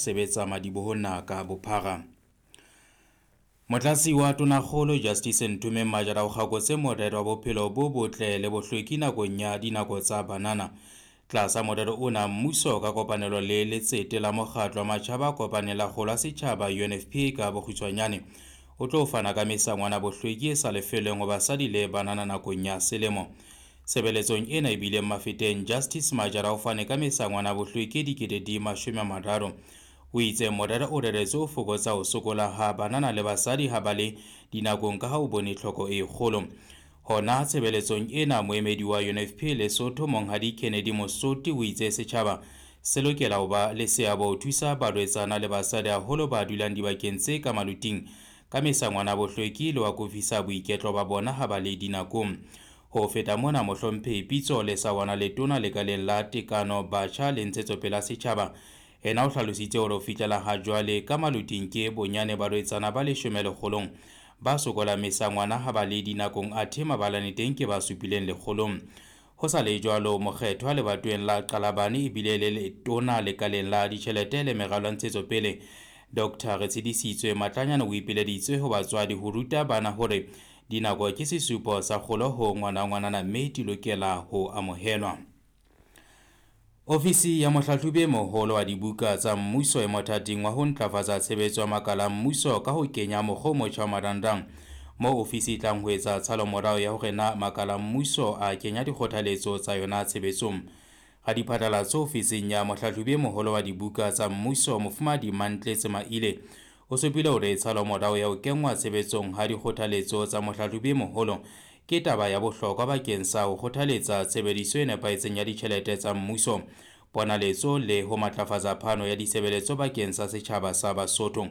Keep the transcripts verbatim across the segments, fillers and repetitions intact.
Sebetsa madibohong naha ka bophara. Motlatsi wa Tonakgolo Justice Nthomeng Majara o kgakotse morero wa bophelo bo botle le bohlweki nakong ya dinako tsa banana. Tlasa morero ona, mmuso ka kopanelo le Letsete la Mokgatlo wa Matjhaba a Kopaneng la Kgolo ya Setjhaba U N F P A ka bokgutshwanyane o tlo fana ka mesangwana bohlweki e sa lefellweng ho basadi le banana nakong ya selemo. Tshebeletsong ena e bileng Mafeteng, Justice Majara o fane ka mesangwana bohlweki e dikete di mashome a mararo. O itse morero o reretswe ho fokotsa ho sokola ha banana le basadi ha ba le dinakong ka ha o bone tlhoko e kgolo. Hona tshebeletsong ena, moemedi wa U N F P A Lesotho Monghadi Kennedy Mosoti o itse setjhaba se lokela ho ba le seabo ho thusa barwetsana le basadi haholo ba dulang dibakeng tse ka maluting ka mesangwana bohlweki le ho akofisa boiketlo ba bona ha ba le dinakong. Ho feta mona, mohlomphehi Pitso Lesawana Letona lekaleng la Tekano Batjha le Ntshetsopele ya Setjhaba ena o hlalositse hore ho fihlela ha jwale ka maluting ke bonyane barwetsana ba leshome lekgolong ba sokola mesangwana ha ba le dinakong, athe mabalane teng ke ba supileng lekgolong. Ho sa le jwalo, mokgethwa lebatoweng la Qalabane ebile le letona lekaleng la ditjhelete le meralo ya ntshetsopele Doctor Retshidisitswe Matlanyane o ipileditse ho batswadi ho ruta bana hore dinako ke sesupo sa kgolo ho ngwana ngwanana mme di lokela ho amohelwa. Ofisi ya mohlahlobi e moholo wa dibuka tsa mmuso e mothating wa ho ntlafatsa tshebetso ya makala a mmuso ka ho kenya mokgwa o motjha wa marangrang, moo ofisi e tlang ho etsa tshalomorao ya hore na makala a mmuso a kenya dikgothaletso tsa yona tshebetsong. Radiphatlalatso ofising ya mohlahlobi e moholo wa dibuka tsa mmuso Mofumahadi Mantletse Maile o supile hore tshalomorao ya ho kenngwa tshebetsong ha dikgothaletso tsa mohlahlobi e moholo ke taba ya bohlokwa bakeng sa ho kgothaletsa tshebediso e nepahetseng ya ditjhelete tsa mmuso, ponaletso le ho matlafatsa phano ya ditshebeletso bakeng sa setjhaba sa Basotho.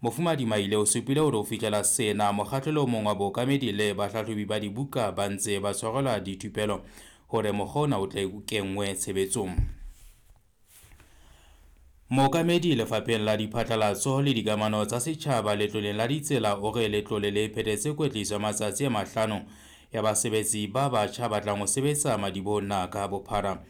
Mofumahadi Maile o supile hore ho fihlela sena mokgahlelo o mong wa bookamedi le bahlahlobi ba dibuka ba ntse ba tshwarelwa dithupelo hore mokgwa ona o tle o kenngwe tshebetsong. Mookamedi lefapheng la diphatlalatso le dikamano tsa setjhaba letloleng la ditsela o re letlole le phethetse kwetliso ya matsatsi a mahlano ya basebetsi ba batjha ba tlang ho sebetsa madibohong naha ka bophara.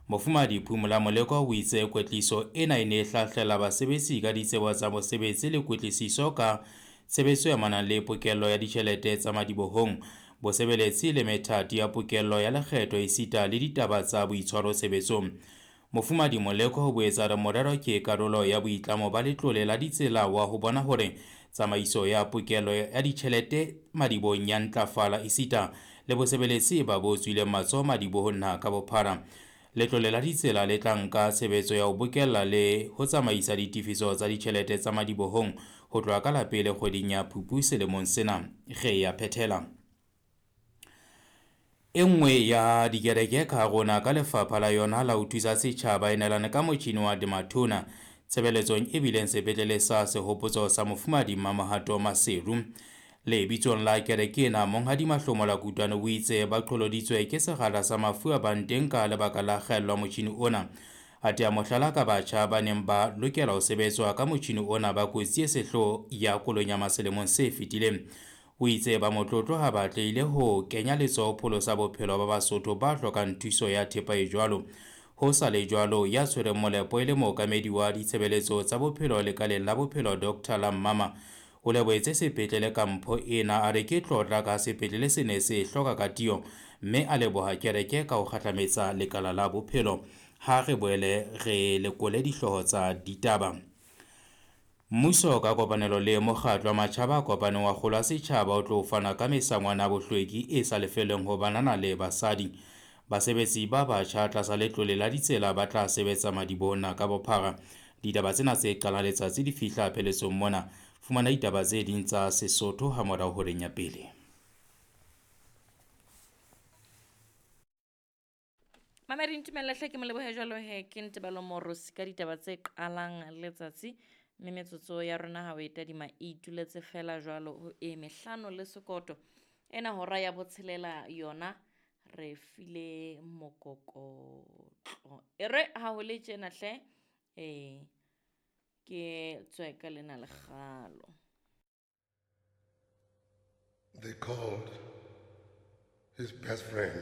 Mofumahadi Phumula Moleko o itse kwetliso ena e ne e hlahlela basebetsi ka ditsebo tsa mosebetsi le kwetliso ka tshebetso e amanang le pokello ya ditjhelete tsa madibohong, bosebeletsi le methati ya pokello ya lekgetho esita le ditaba tsa boitshwaro tshebetsong. Mofumahadi Moleko o boetse a re morero ke karolo ya boitlamo ba letlole la ditsela wa ho bona hore tsamaiso ya pokello ya ditjhelete madibohong ya ntlafala esita le bosebeletsi ba bo tswileng matsoho madibohong naha ka bophara. Letlole la ditsela le tla nka tshebetso ya ho bokella le ho tsamaisa ditefiso tsa ditjhelete tsa madibohong ho tloha ka la pele kgweding ya Phupu selemong sena. Re ya phethela. E nngwe ya dikereke ka rona ka lefapha la yona la ho thusa setjhaba e neelane ka motjhini wa Demathona tshebeletsong e bileng sepetlele sa sehopotso sa Mofumahadi Mmamohato Maseru. Lebitsong la kereke ena, Monghadi Mahlomola Kutwane o itse ba qholoditswe ke sekgahla sa mafu a bang teng ka lebaka la kgaello ya motjhini ona. A tea mohlala ka batjha ba neng ba lokela ho sebetswa ka motjhini ona ba kotsi e sehloho ya kolonyama selemong se fetileng. O itse ba motlotlo ha ba atlehile ho kenya letsoho pholosa bophelo ba Basotho ba hlokang thuso ya thepa e jwalo. Ho sa le jwalo, ya tshwereng molepo e le mookamedi wa ditshebeletso tsa bophelo lekaleng la bophelo Doctor Lammama o lebohetse sepetlele ka mpho ena, a re ke tlotla ka sepetlele se ne se hloka ka tiyo, mme a leboha kereke ka ho kgahlametsa lekala la bophelo. Ha re boele re lekole dihlooho tsa ditaba. Mmuso ka kopanelo le mokgatlo wa matjhaba a kopaneng wa kgolo ya setjhaba o tlo fana ka mesangwana ya bohlweki e sa lefellweng ho banana le basadi. Basebetsi ba batjha tlasa letlole la ditsela ba tla sebetsa madibohong naha ka bophara. Ditaba tsena tse qalang letsatsi di fihla pheletsong mona. Fumana ditaba tse ding tsa Sesotho ha morao horeng ya pele. Mamedi ntumella hle ke mo lebohe jwalo he ke Ntebalo Morosi ka ditaba tse qalang letsatsi. Mme metsotso ya rona ha o e tadima e ituletse fela jwalo ho e mehlano le sekoto. Ena hora ya botshelela yona re file mokokotlo. E re ha ho le tjena hle, eh, ke tswe ka lena lekgalo. They called his best friend